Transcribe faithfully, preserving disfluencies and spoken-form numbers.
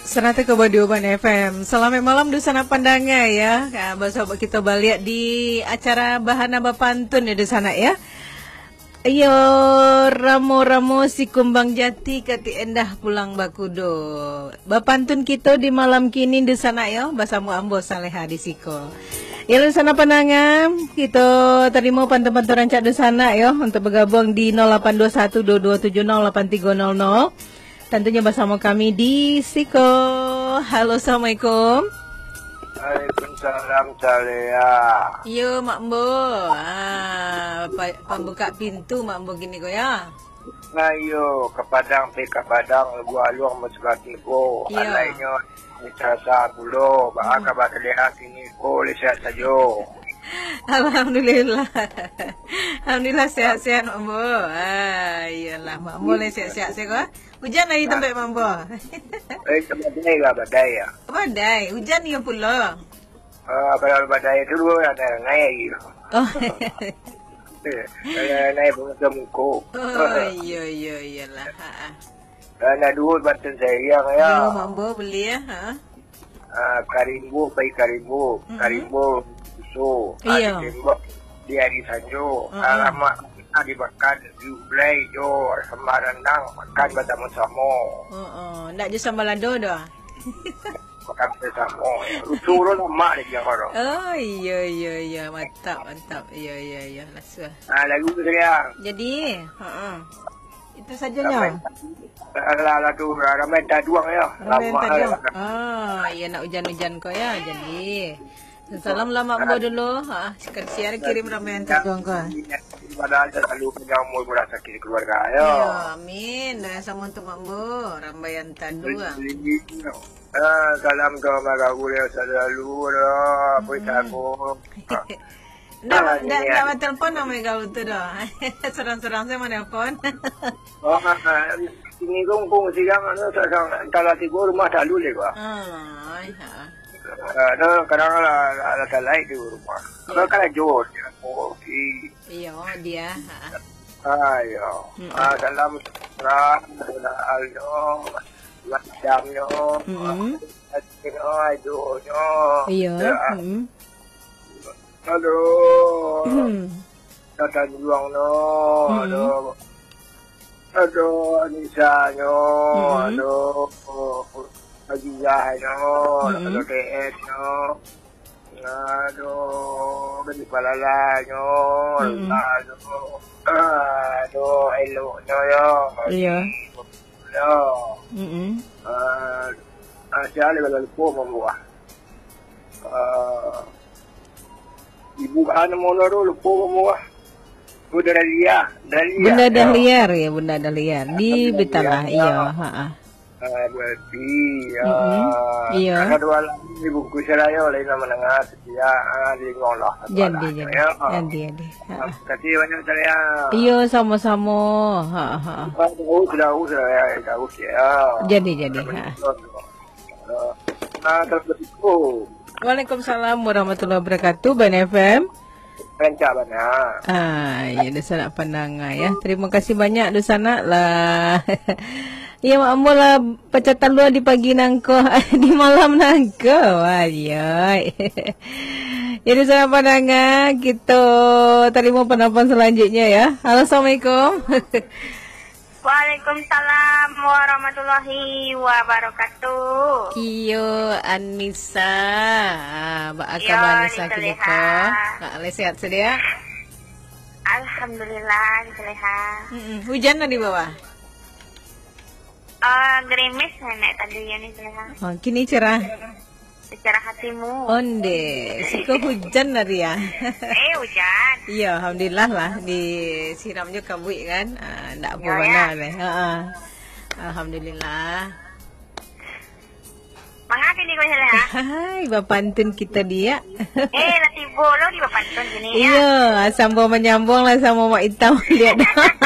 Saratuih koma duo Bana F M. Salamaik malam, dunsanak pandanga, ya. Ah, basobok kito baliak di acara Bahana Bapantun, ya, dunsanak, ya. Iyo, ramo-ramo si kumbang jati, katik endah pulang bakudo. Bapantun kito di malam kini, dunsanak, yo, basamo ambo Saleha di siko. Yo, dunsanak pandanga, kito tarimo pantun-pantun rancak dunsanak, yo, untuk bagabuang di nol lapan dua satu dua dua tujuh nol lapan tigo nol nol. Tantunyo basamo kami di siko. Halo, assalamualaikum. Waalaikumsalam, Saleha. Iyo, Mak Ambo. Ah, pa-, pambuka pintu Mak Ambo kini ko, ya. Nah, iyo, ka Padang, pai ka Padang, Lubuak Aluang, Masukan Tigo. Iyo. Alainyo, Sasa Pulo, baa kaba Saleha kini ko, lai sehat sajo? Alhamdulillah. Alhamdulillah, sehat-sehat, Mak Ambo. Ah, iyolah, Mak Ambo lai sehat-sehat sajo. Hujan lai tampek Mak Ambo? Eh, badai lah, badai lah. Badai, hujan iyo pulo. Ah, kalau badai tu dulu ranai-ranai lagi. Oh. Eh, ranai-ranai bunga muko. Oh, iyo, iyo, iyolah. Ha, ha. Ah, nak duo pantun sariang, ya. Iyo, Mak Ambo, buliah, ha. Ah, ka rimbo, pai ka rimbo. Mm-mm. Ka rimbo susu. Iyo. Ah, ditembak di ari sanjo. Mm-mm. Alamak, ah, dimakan, diulai jo sambal randang, makan basamo-samo. Oh, oh. Ndak jo sambal lado doh, ah? Makan basamo. Susu tu lamak dek dia, kalau. Oh, iyo, iyo, iyo. Mantap, mantap. Iyo, iyo, iyo. Lasuah. Ah, lagu tu dia. Jadi, ha, ha. Itu sajonyo. Ramai. Alah, alah tu, ramai taduang yo. Ramai taduang. Ah, iyo, nak ujan-ujan ko yo. Jadi, salam lah Mak Ambo dulu. Ha, sekali share kirim rambaian taduang ko. Padahal selalu panjang umur, murah sakit keluarga yo. Iyo, amin. Doa samo untuk Mak Ambo, rambaian taduang. Ah, salam ka Mak Gaul yo selalu lah. Apa Hmm. Ndak, ndak, ndak batelpon namo Ega tu doh. Surang-surang sajo manelpon. Oh, ah, ah, ini kong, kong siang, anu, sa-, sa-, salah tigo rumah talu leh, Pak. Ah, ai, ha. Ah, no, kadang lah, lah, lah talai di rumah. Ya. Kalau karajo, dia kopi. Iyo, dia, ha. Ah, iyo. Mm-mm. Ah, salam sejahtera, salam Aldo, macamnyo, Mm-mm. Adonyo, Adonyo. Iyo, Ya. mm-mm. Aduh. Hmm. Tatanjuang no, Hmm. aduh. Aduh, Anisa nyo, Hmm. aduh. Hajijah nyo, Hmm. aduh, T S nyo. Aduh, Gadih Palala nyo, Hmm. aduh. Aduh, elok nyo yo. Iyo. Yo. Mm-mm. Ah, ah, sia lah kalau lupo mambuah. Ah, ibu, ah, namo lo tu, lupo mambuah. Bunda Dahlia, Dahlia. Bunda Dahlia, ya, Bunda Dahlia. Di Bitalah, iyo, ha, ha. Ah, Bu Elvi, ya. Mm-mm. Iyo. Ado dua lagi ibu ku Serayo, lain nama nengah, setia, ah, lingong lah. Jadi, jadi. Ya. Jadi, jadi. Ha. Terima kasih banyak, Serayo. Iyo, samo-samo. Ha, ha. Ah, jauh, jauh, Serayo, jauh, ya. Jadi, jadi. Ha. Ah, assalamualaikum. Waalaikumsalam warahmatullahi wabarakatuh, Bana F M. Rancak bana. Ah, ya, dah sanak pandanga, ya. Terima kasih banyak, dah sanak lah. Ya, Mak Ambo lah pacah talua di pagi nangko, di malam nangko. Wah, ya. Jadi, sanak pandanga, kita terima penelpon selanjutnya, ya. Halo, assalamualaikum. Waalaikumsalam warahmatullahi wabarakatuh. Iyo, Anisa. Ah, baa Iyo, kaba Anisa Anisa kini ko? Leha. Ah, lai sehat sadia? Alhamdulillah, Anisa Leha. Mm-mm. Hujan lah di bawah? Ah, gerimis nenek tadi, Anisa Leha. Oh, kini cerah. Secara hatimu. Onde, siko hujan hari ya. Eh, hujan. Iya, alhamdulillah lah, disiram jo kabuik kan. Ah, ndak apa Iya, bana ya. Deh. Ha ah. Alhamdulillah. Manga kini ko, Saleha? Hai, bapantun kita dia. Eh, lah tibo lo di bapantun kini, ya. Iya, sambung menyambung lah sama Mak Itam dia.